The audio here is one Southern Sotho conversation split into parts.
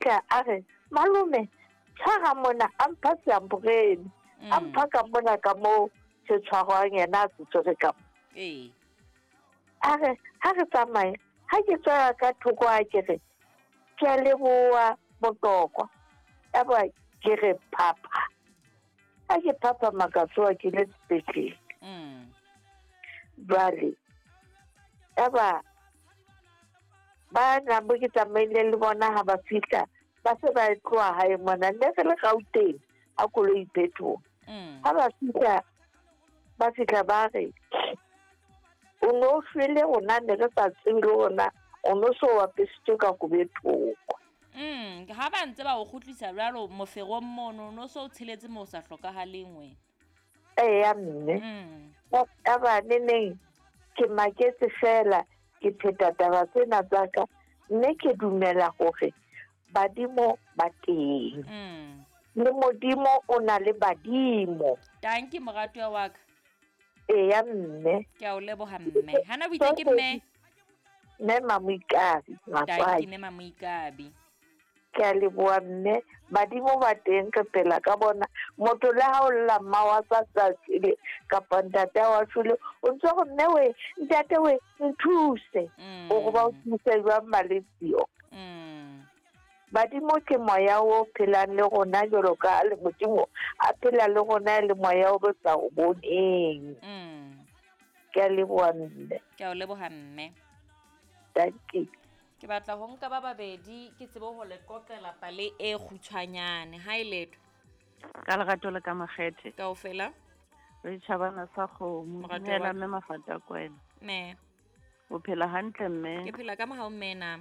Tla a re, Malome, tshwara mona, a mpha seamporene, a mpha ka mona ka moo se tshwarwang, yena a se tshwere ka mo. Ee. A re, ha re tsamaye, ha ke tswela ka thoko a ke re, ke a leboha Motokwa. Yaba ke re phapha. Ha ke phaphama ka tsoha ke le sepetlele. Jwale, yaba ba nang bo ke tsamaile le bona ha ba fihla ba se ba tloha hae mona, ne re le Gauteng ha koloi phethoha. Ha ba fihla, ba fihla ba re o no shwele, rona ne re sa tsebe le rona o no so apesitswe ka kobo e thoko. Ha ba ntse ba o kgutlisa jwalo moferong mono, no so o tsheletse moo o sa hlokahaleng wena. Eya mme. Ka ba neneng ke maketse fela, ke pheta taba tsena tsa ka, mme ke dumela hore badimo ba teng. Le Modimo o na le badimo. Tanki moratuwa wa ka. Eya mme. Ke a o leboha mme. Hana o itse ke mme? Mme Mamoikabi, Tanki Matswai. mme Mamoikabi. Ke a leboha mme. Badimo ba teng, re phela ka bona. Motho le ha o lla mma wa sa sa shwele kapa ntate wa shwele, o ntse go mme we, ntate we, nthuse. O go ba o thuse jwang maletsio? Badimo ke moya o phelang le rona jwalo ka le Modimo a phela le rona e le moya o re sa o boneng. Ke a leboha mme. Ke a o leboha mme. Thank you. Ke batla ho nka ba babedi ke tsebe ho le qoqela pale e kgutshwanyane. Ha e letho. Ka lerato le ka makgethe. Kaofela. Re tjhabana sa kgomo. Moratuwa Dumela wa ka. mme Mafata Kwena. Mme. O phela hantle mme? Ke phela ka mohau mme na.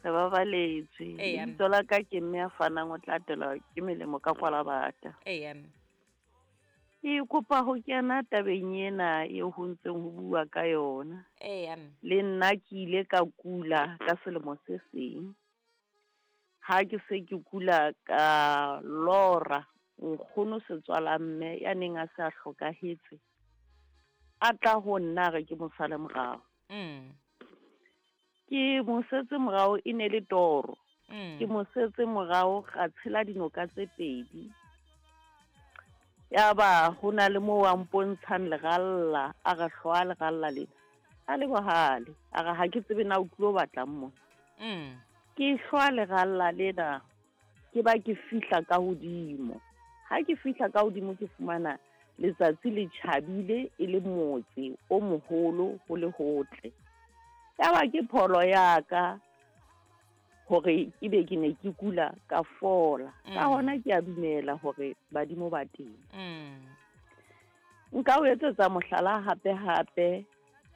Re babaletswe. Eya. Lebitso la ka ke mme a fanang o tla atelwa ke melemo ka kwalabata. Eya. Ke kopa ho kena tabeng ena eo ho ntseng ho bua ka yona. Eya. Le nna ke ile ka kula ka selemo se seng. Ha ke se ke kula ka lora nkgono setswala mme ya neng a se a hlokahetse, a tla ho nna a re ke mo sale morao. Ke mo setse morao, e ne le toro. Ke mo setse morao, ra tshela dinoka tse pedi. Yaba ho na le moo a mpontshang leralla, a re hlwa leralla lena. A le bohale, a re ha ke tsebe na o tlilo batlang mona. Ke hlwa leralla lena, ke ba ke fihla ka hodimo. Ha ke fihla ka hodimo ke fumana letsatsi le tjhabile e le motse o moholo ho le hotle. Yaba ke pholo ya ka hore ebe ke ne ke kula ka fola. Ka hona ke a dumela hore badimo ba teng. Nka o etsetsa mohlala hape hape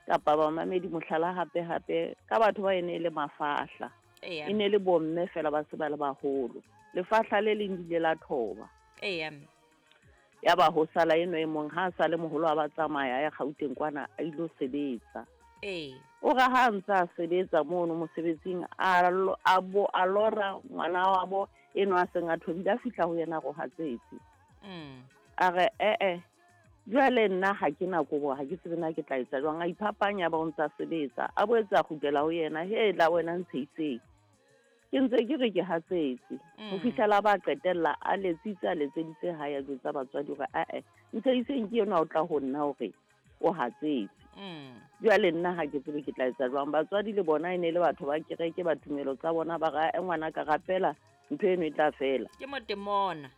kapa bamamedi mohlala hape hape ka batho ba ene e le mafahla. Eya. E ne le bomme fela ba se ba le baholo. Lefahla le leng le ile la thoba. Eya. Yaba ho sala eno e mong, ha a sa le moholo a ba tsamaya ya Gauteng kwana a ilo sebetsa. Ee. O re ha ntse a sebetsa mono mosebetsing, a bo a lora ngwana wa bo eno a seng a thobile, a fihla ho yena a rohatsetse. A re, eh-eh, jwale nna ha ke na kobo, ha ke tsebe na ke tla etsa jwang. A iphapanya ba o ntse a sebetsa, a boetse a kgutlela ho yena, he la wena ntsheiseng. Ke ntse ke re ke hatsetse. Ho fihlela ba qetella a letsitse, a letseditse hae, a jwetsa batswadi hore, ah-eh, ntsheiseng ke enwa o tla ho nna hore o hatsetse. Jwale nna ha ke tsebe ke tla etsa jwang. Batswadi le bona e ne le batho ba kereke, ba tumelo tsa bona, ba re, ngwana ka rapela, ntho eno e tla fela. Ke motemona.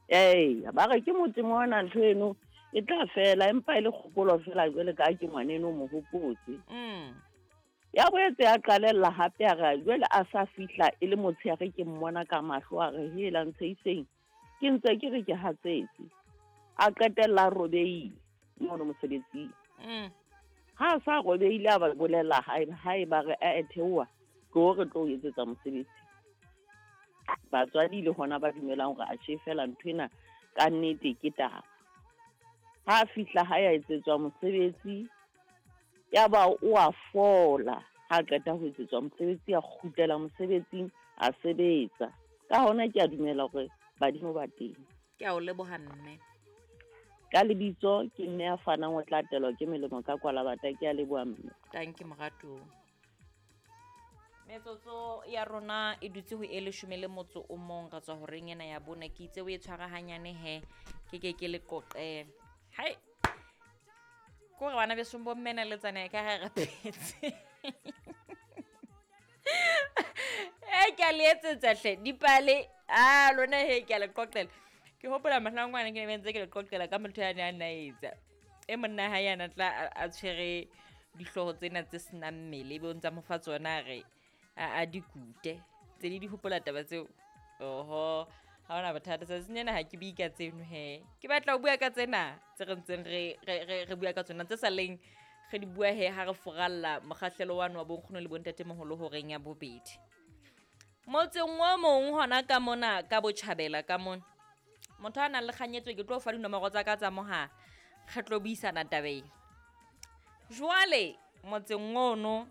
Ee, ba re ke motemona, ntho eno e tla fela, empa e le kgopolo fela jwale ka ha ke ngwaneno o mo hopotse. Ya boetse ya qalella hape a re jwale a sa fihla e le motshehare ke mmona ka mahlo, a re hela ntsheiseng, ke ntse ke re ke hatsetse. A qetella a robehile mono mosebetsing. Ha a sa robehile a ba bolella hae, hae ba re, eh, theoha, tlo re tlo o etsetsa mosebetsi. Batswadi le hona ba dumelang hore atjhe fela nthwena ka nnete ke taba. Ha a fihla hae a etsetswa mosebetsi, ya ba o a fola. Ha a qeta ho etsetswa mosebetsi, a kgutlela mosebetsing, a sebetsa. Ka hona ke a dumela hore badimo ba teng. Ke a o leboha mme. Ka lebitso ke mme a fanang o tla atelwa ke melemo ka kwalabata. Ke a leboha mme. Thank you moratuwa. Metsotso ya rona e dutse ho e leshome le motso o mong re tswa horeng ena ya bone. Ke itse o e tshwara hanyane he, ke ke ke le qoqele. Hai, kore bana besong bo mmena le tsana ka ha re phetse. E ke a le etsetsa hle dipale, a lona he ke a le qoqela. Ke hopola mohlang ngwana ke ne ntse ke le qoqela ka motho ya ne a nna etsa. E monna hae yana tla a tshwere dihlooho tsena tse senang mmele, ebe o ntsa mo fa tsona a re a di kute. Tse di hopola taba tseo. Oho, ha hona bothata. Tsatsing lena ha ke bue ka tseno he. Ke batla ho bua ka tsena tse re ntseng re bua ka tsona, tse sa leng re di bua he ha re furalla mokgahlelo wane wa bonkgono le bontatemoholo horeng ya bobedi. Motseng o mong hona ka mona ka botjhabela ka mona, motho a nang le kganyetso ke tlo fa dinomoro tsa ka tsa mohala, re tlo buisana tabeng. Jwale motseng ono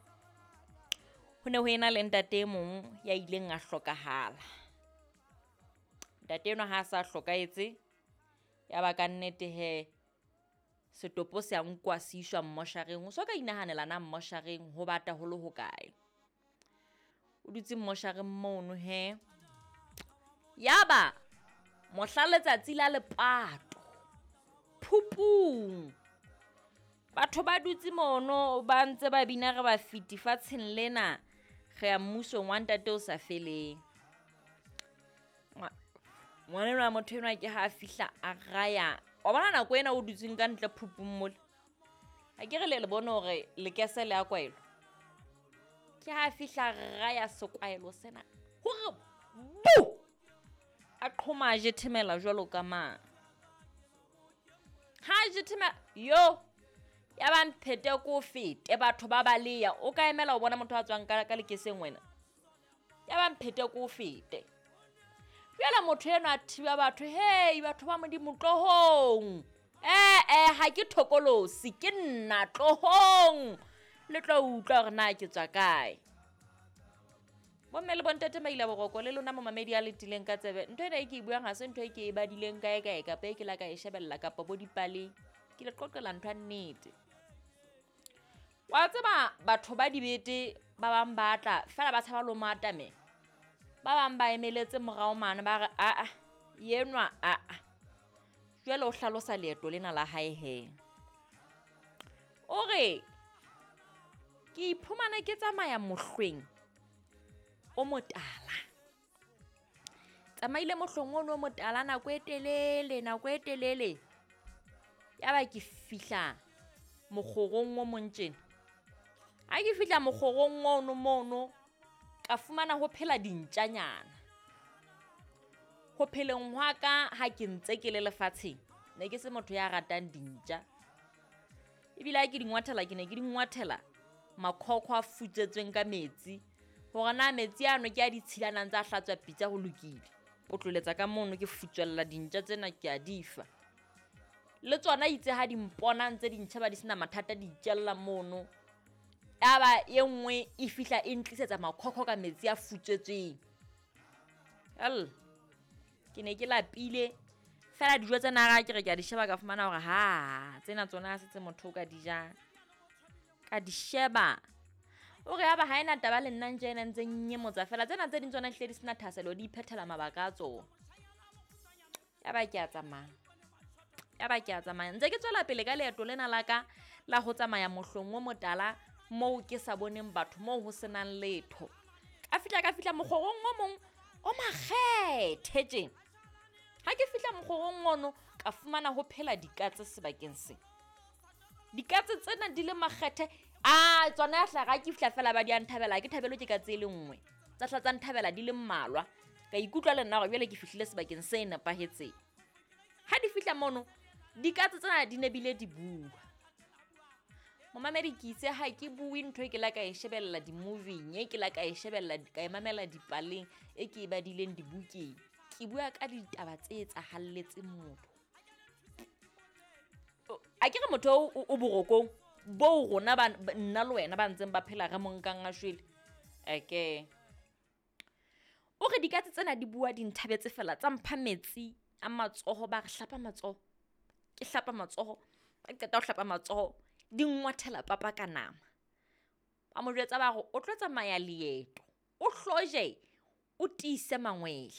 ho ne ho ena le ntate e mong ya ileng a hlokahala. Ntate enwa ha a sa hlokahetse, ya ba ka nnete he setopo se a nkwa se iswa mmoshareng. O so ka inahanela na mmoshareng ho bata ho le hokae. O dutse mmoshareng mono he. Yaba mohla letsatsi la lepato, phupung, batho ba dutse mono ba ntse ba bina re ba fiti fatsheng lena, re ya mmusong wa ntate o sa feleng. Ngwana enwa motho enwa ke ha a fihla a raya. Wa bona nako ena o dutseng ka ntle phupung mole, ha ke re le le bone hore lekese le a kwaelwa. Ke ha a fihla raya sekwaelo sena hore bu, a qhoma a jethemela jwalo ka mang. Ha a jethemela yo, ya ba mphete ko fete, batho ba baleya. O ka emela ho bona motho a tswang ka lekeseng wena. Ya ba mphete ko fete. Jwale motho enwa a thiba batho, hei batho ba Modimo tlohong. Ha ke thokolosi, ke nna tlohong. Le tlo utlwa hore na ke tswa kae. Bomme le bontate ba ile boroko le lona momamedi a letileng ka tsebe. Ntho ena e ke e buang ha se ntho e ke e badileng kae kae kapa e ke la ka e shebella kapa bo dipaleng. Ke le qoqela ntho ya nnete. Wa tseba batho ba dibete ba bang ba tla fela ba tshaba lo matame. Ba bang ba emeletse morao mane ba re a yenwa a. Jwale o hlalosa leeto lena la hae he. O re ke iphumana ke tsamaya mohlweng o motala. Tsamaile mohlweng ono o motala nako e telele, nako e telele. Ya ba ke fihla mokgorong o mong tjena. Ha ke fihla mokgorong ono mono, ka fumana ho phela dintjanyana. Ho pheleng hwa ka ha ke ntse ke le lefatsheng, ne ke se motho ya ratang dintja. Ebile ha ke di ngwathela, ke ne ke di ngwathela makhokho a futsetsweng ka metsi. Hore na metsi ano ke a ditshilanang tsa hlatswa pitsa ho lokile. Potloletsa ka mono ke futswella dintja tsena ke a di fa. Le tsona itse ha di mpona ntse di ntjheba di sena mathata di itjella mono. Yaba e nngwe e fihla e ntlisetsa makhokho ka metsi a futswetsweng. Al, ke ne ke lapile fela dijo tsena ha ke re ke a di sheba ka fumana hore ha tsena tsona ha se tse motho o ka di jang. Ka di sheba. O re yaba ha ena taba le nna ntje ena ntse nnyemotsa fela tsena tse ding tsona ehlile di sena thahasello, di iphethela mabaka a tsona. Yaba ke a tsamaya. Yaba ke a tsamaya. Ntse ke tswela pele ka leeto lena la ka la ho tsamaya mohlong o motala moo ke sa boneng batho, moo ho senang letho. Ka fihla mokgorong o mong o makgethe tjena. Ha ke fihla mokgorong ono ka fumana ho phela dikatse sebakeng se. Dikatse tsena di le makgethe. A tsona ya hlaha ke fihla fela ba di a nthabela, ke thabelo ke katse e le nngwe. Tsa hla tsa nthabela di le mmalwa. Ka ikutlwa le nna hore jwale ke fihlile sebakeng se nepahetseng. Ha di fihla mono, dikatse tsena di ne bile di bua. Momamedi ke itse ha ke bue ntho e ke la ka e shebella di-movie-ing, e ke la ka e shebella ka e mamela dipaleng, e ke e badileng dibukeng. Ke bua ka ditaba tse etsahalletseng motho. A ke re motho o borokong bo rona ba nna le wena ba ntseng ba phela re mo nkang a shwele. Eke. O re dikatse tsena di bua di nthabetse fela tsa mpha metsi a matsoho, ba re hlapa matsoho. Ke hlapa matsoho, ba qeta ho hlapa matsoho, di ngwathela papa ka nama. Ba mo jwetsa ba re o tlo tsamaya leeto. O hloje, o tiise mangwele.